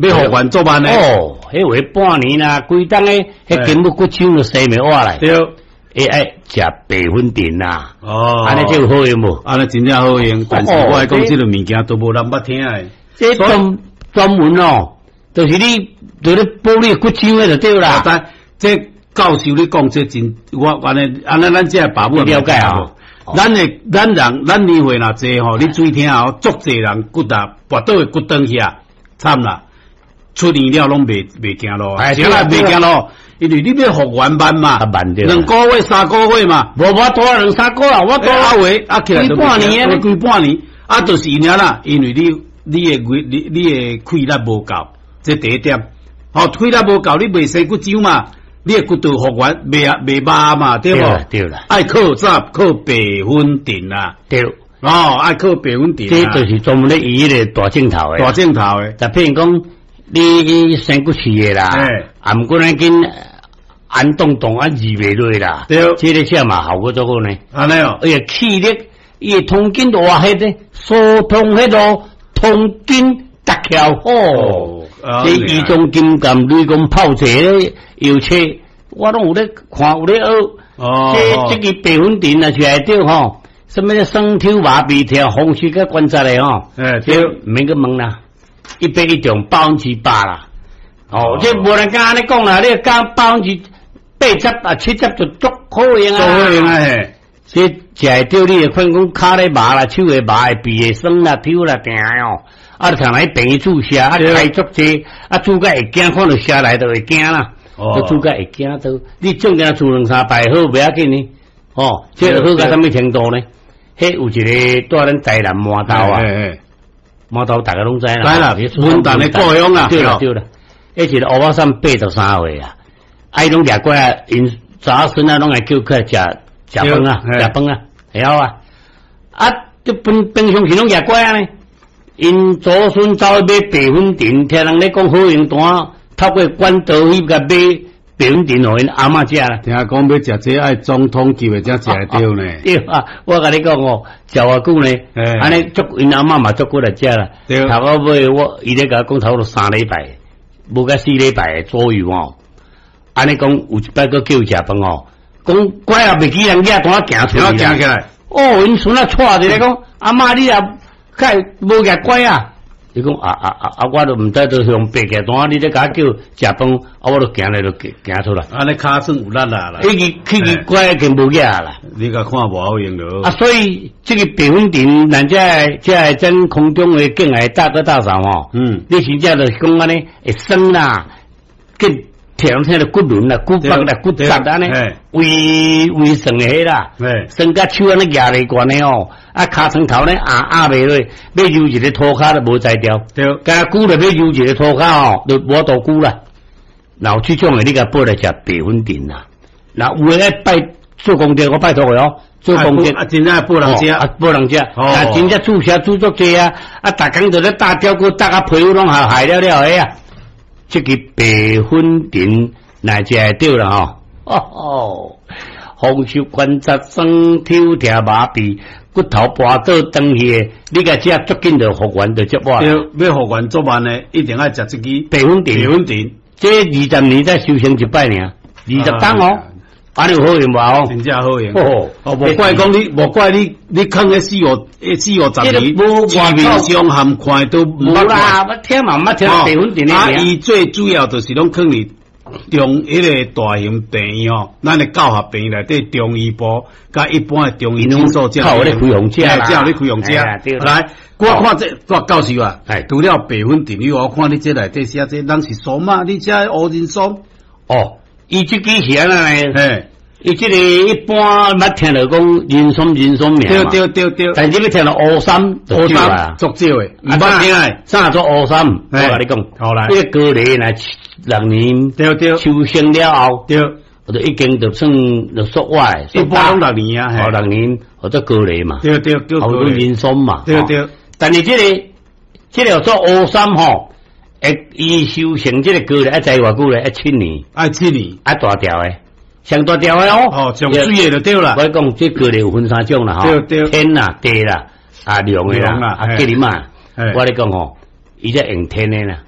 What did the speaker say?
欲復原足慢的。哦，彼話半年啦，規冬的，彼筋骨骨手就生袂活來。會愛食白粉腸啦。哦，按呢這有好用無？按呢真正好用，但是我愛講這个物件都無人捌聽的。這專專門哦，就是你，就是補你骨手的就對啦。但這教授你講這真，我按呢按呢，咱這爸母了解啊。咱的咱人，咱年歲若濟吼，你注意聽哦，足濟人骨啊跋倒的骨斷去啊，慘啦！出年了攏袂行路，對啦，袂行路，因為你欲復原慢嘛，2個月、3個月嘛，無我多兩三個月，我多啊話啊起來規半年，規半年，啊，就是因啦，因為你的氣力無夠，這第一點，吼，氣力無夠，你袂生骨疣嘛。你的骨頭復原袂啊袂麻嘛，對無？對啦，愛靠啥？靠白粉腸啦。對，哦，愛靠白粉腸。這就是專門咧醫彼個大症頭的。大症頭的。就譬如講，你生骨刺的啦，啊，毋過咱緊按動動啊，治袂落啦。這个食嘛效果足好呢。按呢哦，伊個氣力，伊會通筋活血呢，疏通血路，通筋搭橋好。這醫宗金鑑雷公炮者藥冊，我攏有咧看，有咧學。哦，這個白粉腸若是會著吼，啥物酸抽麻痹痛、風濕佮關節的吼。對，毋免閣問啦，一百一中100%啦。哦，這無人敢按呢講啦，你講80%啊70就足好用啊。足好用啊嘿。這食會著你會看講跤咧麻啦，手會麻會鼻會酸啦，抽啦，定哦。啊！就通來病院注射，啊開足濟，啊注甲會驚，看著射來就會驚啦。哦，注甲會驚都，你總驚注兩三擺好，袂要緊呢。哦，這個好到啥物程度呢？彼有一個蹛咱台南饃頭啊，饃頭逐家攏知啦。知啦，文旦的故鄉啊。對啦對啦，彼一個烏仔送83歲啊，啊伊攏掠過來，𪜶查某孫仔攏來叫起來食食飯啊，食飯啊，會曉啊。啊，這平平常時攏掠過啊呢。𪜶祖孫走去買白粉腸，聽人咧講好用單，透過管道去共買白粉腸，予𪜶阿嬤食啦。聽講欲食這愛總統級的才食會著呢。對啊，我共你講哦，食偌久呢？按呢足𪜶阿嬤嘛足骨力食啦。頭到尾我伊咧共我講差不多3禮拜，無甲4禮拜左右哦。按呢講有一擺閣叫伊食飯哦，講怪也袂記人寄單行出來。行起來。哦，𪜶孫仔帶一个講，阿嬤你也。較會無舉拐啊！伊講啊啊啊啊！我都毋知都向白寄單，你咧共我叫食飯，啊，我都行來就行出來。按呢跤算有力啦啦。伊去去拐已經無舉啦。你共看無好用著。啊，所以這个白粉腸，咱這个這个咱空中的敬愛大哥大嫂吼，你真正就是講按呢會酸啦，緊。聽聽著骨輪啦、骨腹啦、骨節按呢，微微酸的彼啦，酸甲手按呢舉袂懸的吼，啊，尻川頭呢壓壓袂落，欲揉一个塗跤都無才調，敢若久了欲揉一个塗跤吼，就無法度久啦。若有這種的，你共報來食白粉腸啦。若有的愛拜做功德，我拜託伊哦，做功德啊，真正報人食，啊，報人食，啊，真正注射注足濟啊，啊，逐工就咧打吊骨，打甲皮膚攏害害了了的啊。這个白粉腸若食會著啦吼，哦，風濕關節酸抽痛麻痹骨頭跋倒斷去的，你共食足緊就復原就足活。對，欲復原足慢的，一定愛食這支白粉腸。白粉腸，這20年才修成一擺爾，20冬哦，按呢有好用無？哦，真正好用。哦，無怪講你，無怪你，你囥咧四五、四五十年，市面上含看都無啦，我聽嘛，毋捌聽白粉腸的。啊，伊最主要就是攏囥佇中彼个大型病院吼，咱的教學病院內底中醫部，佮一般的中醫診所，較有咧開方食啦，才有咧開方食。來，我看這我教授啊，除了白粉腸以外，我看你這內底寫這，人是桑嗎？你這烏人桑？哦，伊這支是按怎呢？伊這个一般捌聽著講人參人參名嘛。對對對對。但是欲聽著烏參，烏參足少的，毋捌聽的。啥做烏參？我共你講，好來。這個高麗若6年，修成了後，就已經就算就縮歪，一般攏六年啊，哦，六年或者高麗嘛，對，叫人參嘛，對。但是這個叫做烏參吼，會伊修成這個高麗愛在偌久咧？愛七年，愛七年，愛大條的，上大條的哦，哦，上水的就對啦。我講這高麗有分三種啦，吼，天啦、地啦、啊龍的啦、啊吉林嘛。我咧講吼，伊這用天的啦。